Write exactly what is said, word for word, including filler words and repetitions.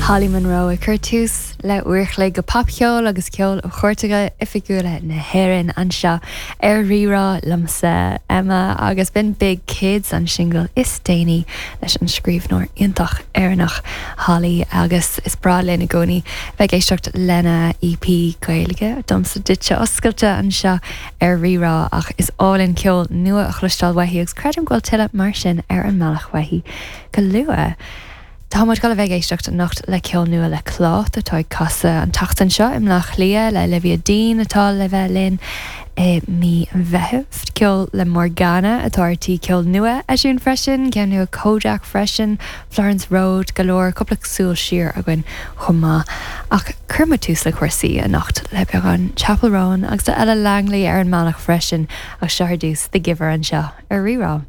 Holly Monroe ag cur tús le uair an chloig de popcheol agus ceol ó chairteacha oifigiúla na hÉireann anseo ar Rí-Rá liomsa Emma agus b'in Big Kids an singil is déanaí leis an scríbhneoir iontach Éireannach Holly agus is breá linn i gcónaí bheith ag éisteacht lena EP Gaeilge domsa duitse oscailte anseo ar Rí-Rá ach is álainn ceol nua a chloisteáil uaithi agus creidim go bhfuil tuilleadh mar sin ar an mbealach uaithi go luath. Tá muid ag bheith ag éisteacht anocht le ceol nua le Clát atá ag casadh an tseachtain seo i mBleá Cliath le Olivia Dean atá le bheith linn i mí Mheithimh. Ceol le Morgana atá ar tí ceol nua a eisiúint freisin, ceann nua Kojaque freisin, Florence Road go leor cúpla súil siar againn chomh maith. Ach cuirfidh muid tús le cúrsaí anocht le beagán Chappell Roan agus Ella Langley ar an mbealach freisin ach seo ar dtús The Giver anseo ar Rí-Rá.